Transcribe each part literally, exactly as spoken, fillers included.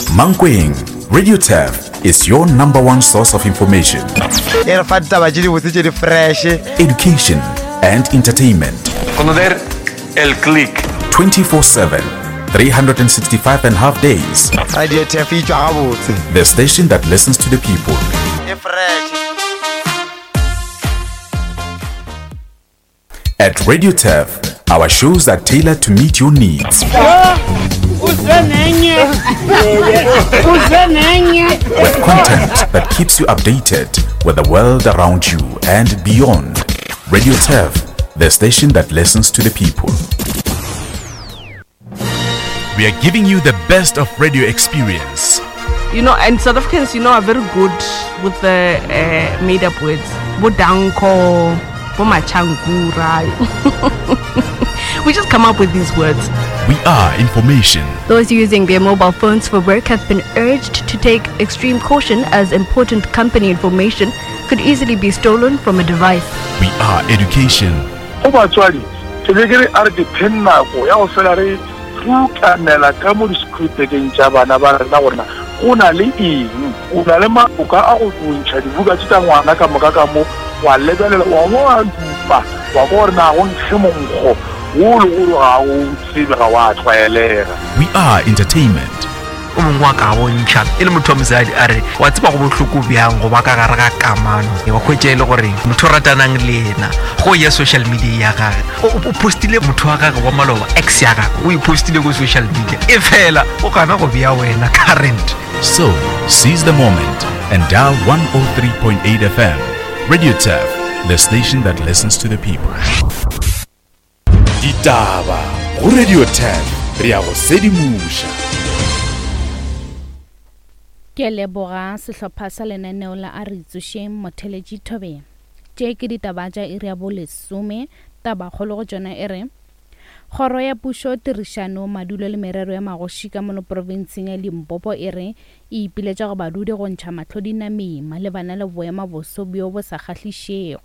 Mankweng, Radio Turf is your number one source of information. E re fa ditaba tše dibotse tše di fresh. Education and entertainment. Conocer el click. twenty-four seven, three hundred sixty-five and a half days. Radio Turf e tšwa gabotse. The station that listens to the people. E fresh. At Radio Turf, our shows are tailored to meet your needs. With content that keeps you updated with the world around you and beyond. Radio Turf, the station that listens to the people. We are giving you the best of radio experience. You know, and South Africans, you know, are very good with the uh, made-up words. Bodanko, Bomachankura. We just come up with these words. We are information. Those using their mobile phones for work have been urged to take extreme caution as important company information could easily be stolen from a device. We are education. Go batswadi, ke be ke re a re depend nako ya go fela re rutanela ka mo di-scripteng tša bana ba rena gore go na le eng, o na le maboka a go bontšha dibuka tše tša ngwana ka moka ka mo, wa lebelela wa bo wa dupa wa go gore na go nkge monkgo wo le gore ga o tsebe ga wa tlwaelega. We are entertainment. O mongwe wa ka bontšha e le motho wa mosadi a re wa tseba go bohloko bjang go ba ka gare ga kamano, wa hwetša e le gore motho o ratanang le yena go ya social media ya gage o postile motho wa gage wa maloba ex ya gage o e postile go social media e fela o gana go bea wena current. So seize the moment and dial one oh three point eight F M. Radio Turf, the station that listens to the people. Ditaba go Radio Turf, re ya go sedimoša. Ke leboga sehlopha sa lenaneo la a re tsošeng motheletši Thobeng. Tše ke ditaba tša iri ya bolesome, tabakgolo go tšona e re Kgoro ya Pušo, Tirišano, Madulo le Merero ya Magoši ka mono profenseng ya Limpopo e re e ipiletša go badudi go ntšha mahlo dinameng malebana le boema boso bjo bo sa kgahlišego.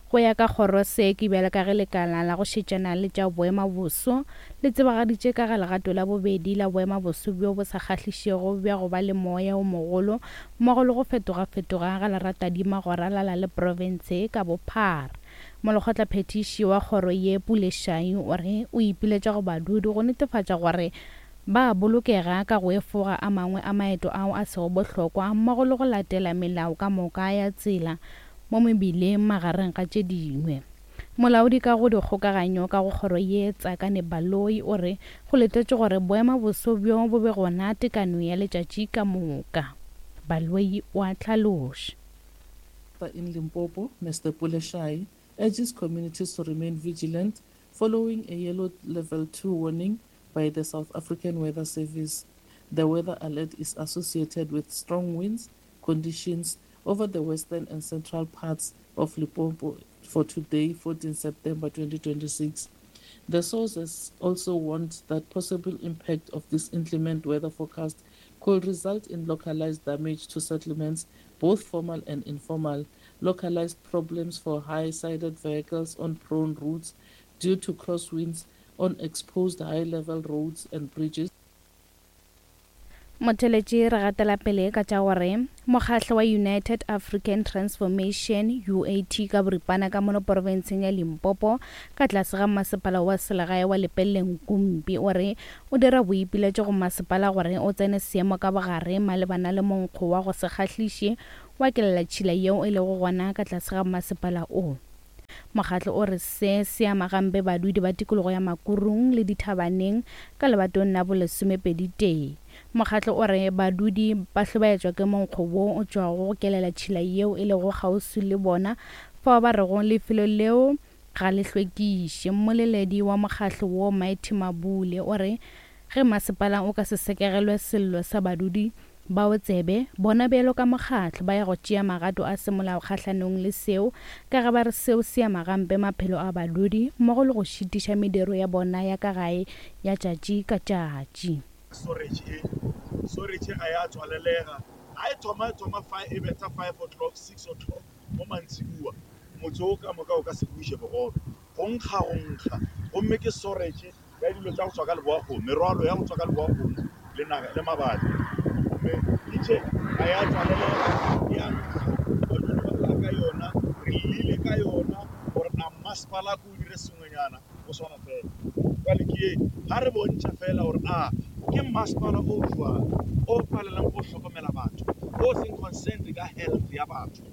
Go ya ka kgoro se ke bjale ka ge lekala la go šetšana le tša boema boso le tsebagaditše ka ga legato la bobedi la boema boso bjo bo sa kgahlišego bja go ba le moya o mogolo mmogo le go fetoga-fetoga ga leratadima go ralala le profense ka bophara. Molekgotlaphethiši wa kgoro ye Pule Shai o re o ipiletša go badudi go netefatša gore ba bolokega ka go efoga a mangwe a maeto ao a sego bohlokwa mmogo le go latela melao ka moka ya tsela mo mebileng magareng ga tše dingwe. Molaodi ka go dikgokaganyo ka go kgoro ye Tsakane Baloyi o re go letetše gore boema boso bjo bo be gona tekano ya letšatši ka moka. Baloyi o a hlaloša. In Limpopo, Mister Pule Shai urges communities to remain vigilant following a yellow level two warning by the South African Weather Service. The weather alert is associated with strong winds conditions over the western and central parts of Limpopo for today, fourteenth September twenty twenty-six. The sources also warned that possible impact of this inclement weather forecast could result in localized damage to settlements, both formal and informal, localized problems for high-sided vehicles on prone routes due to crosswinds on exposed high-level roads and bridges. Motheletši re gatela pele ka tša gore mokgahlo wa United African Transformation U A T ka boripana ka mono profenseng ya Limpopo ka tlase ga masepala wa selegae wa Lepelle Nkumpi o re o dira boipiletšo go masepala gore o tsene seemo ka bogare malebana le monkgo wa go se kgahliše wa kelelatšhila yeo e lego gona ka tlase ga masepala o. Mokgatlo o re se se ama gampe badudi ba tikologo ya Makurung le dithabaneng ka lebatong la bolesomepedi tee. Mokgatlo o re badudi ba hlobaetšwa ke monkgo wo o tšwago go kelelatšhila yeo e lego kgauswi le bona fao ba rego lefelo leo ga le hlwekiše. Mmoleledi wa mokgatlo wo Mighty Mabule o re ge masepala o ka se sekegelwe sello sa badudi bao tsebe bona bjalo ka mokgatlo ba ya go tšea magato a semolao kgahlanong le seo ka ge ba re seo se ama gampe maphelo a badudi mmogo le go šitiša mediro ya bona ya ka gae ya tšatši ka tšatši. Storage e storage ga ya tswalelega ga e thoma e thoma five e betha five o'clock six o'clock mo mantsibuwa motse o ka moka o ka se buše bogobe go nkga go nkga gomme ke storage ya dilo tša go tswa ka leboakgomo merwalo ya go tswa ka leboakgomo le naga le mabapi. Gomme kitchen ga ya tswalelega, ya nkga, badudi ba lla ka yona, re llile ka yona gore a masepala ko o dire sengwenyana go swana fela. Jwale ke ye ga re bontšha fela gore a ke masepala o jwang o palelang go hlokomela batho, o seng concerned ka health ya batho.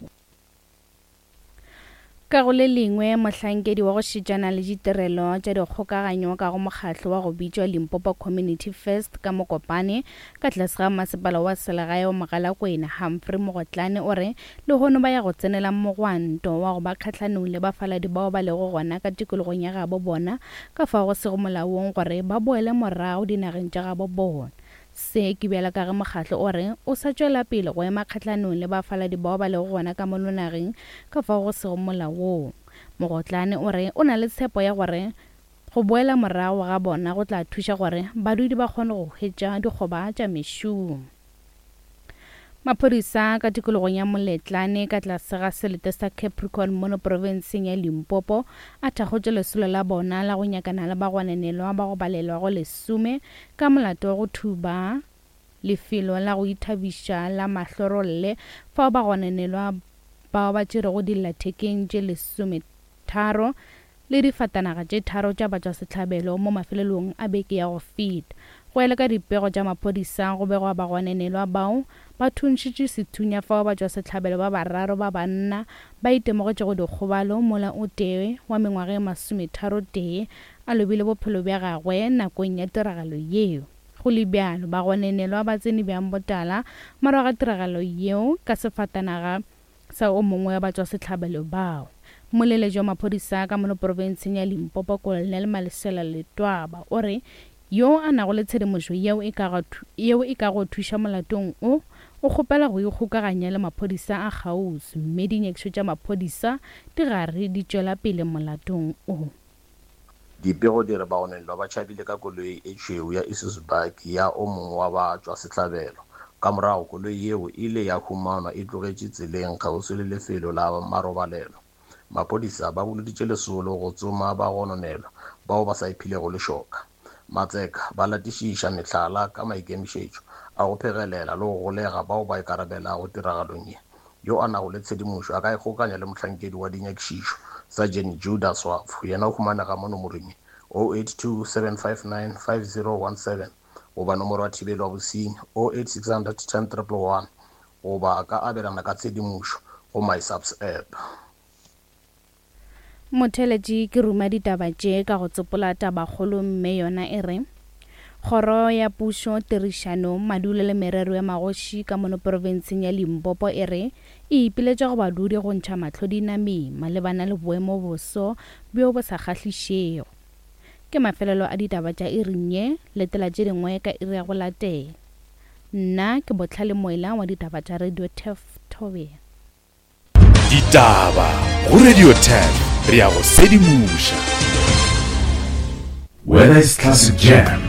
Ka go le lengwe, mohlankedi wa go šetšana le ditirelo tša dikgokaganyo ka go mokgatlo wa go bitšwa Limpopo Community First ka Mokopane ka tlase ga masepala wa selegae wa Mogalakwena Humphrey Mogotlane o re lehono ba ya go tsenela mogwanto wa go ba kgahlanong le bafaladi bao ba lego gona ka tikologong ya gabo bona ka fao go sego molaong gore ba boele morago dinageng tša gabo bona. Se ke bjala ka ge mokgatlo o re o sa tšwela pele go ema kgahlanong le bafaladi bao ba lego gona ka mono nageng ka fao go sego molaong. Mogotlane o re o na le tshepo ya gore go boela morago ga bona go tla thuša gore badudi ba kgone go hwetša dikgoba tša mešomo. Maphodisa ka tikologong ya Moletlane ka tlase ga selete sa Capricorn mono profenseng ya Limpopo a thakgotše lesolo la bona la go nyakana le bagwanenelwa ba go balelwa go lesome ka molato wa go thuba lefelo la go ithabiša la Mahlorolle fao bagwanenelwa bao ba tšerego dillathekeng tše lesometharo le difatanaga tše tharo tša batšwasehlabelo mo mafelelong a beke ya go feta. Go ya le ka dipego tša maphodisa go begwa bagwanenelwa bao ba thuntšhitše sethunya fao batšwasehlabelo ba bararo ba banna ba itemogetšego dikgobalo mola o tee wa mengwaga e masometharo tee a lobile bophelo bja gagwe nakong ya tiragalo yeo. Go le bjalo, bagwanenelwa ba tsene bjang botala morago ga tiragalo yeo ka sefatanaga sa o mongwe wa batšwasehlabelo bao. Moleletši wa maphodisa ka mono profenseng ya Limpopo Colonel Malesela Letwaba o re yo a nago le tshedimošo yeo e ka yeo e ka go thuša molatong o o kgopela go ikgokaganya le maphodisa a kgauswi mme dinyakišo tša maphodisa di gare di tšwela pele molatong o. Dipego di re bagonelwa ba tšhabile ka koloi e tšhweu ya Isuzu bakkie ya o mongwe wa batšwasehlabelo. Ka morago koloi yeo e ile ya humanwa e tlogetše tseleng kgauswi le lefelo la marobalelo. Maphodisa ba boloditše lesolo go tsoma bagononelwa bao ba sa iphilego lešoka. Matseka ba latišiša mehlala ka maikemišetšo a go phegelela le go golega bao ba ikarabelago tiragalong ye. Yo a nago le tshedimošo a ka ikgokanya le mohlankedi wa dinyakišišo Sergeant Judah Swafu, yena o humanega mo nomorong ye oh eight two seven five nine five zero one seven goba nomoro ya thibelo ya bosenyi oh eight six hundred ten triple one goba a ka abelana ka tshedimošo go MySAPS app. Motheletši ke ruma ditaba tše ka go tsopola tabakgolo mme yona e re Kgoro ya Pušo Tirišano Madulo le Merero ya Magoši ka mono profenseng ya Limpopo e re e ipiletša go badudi go ntšha mahlo dinameng malebana le boemo boso bjo bo sa kgahlišego. Ke mafelelo a ditaba tša iring ye, letela tše dingwe ka iri ya go latela. Nna ke Botlhale Moela wa ditaba tša Radio Turf Thobela. Ditaba go Radio Turf re ya go sedimoša. Whether it's classic jam,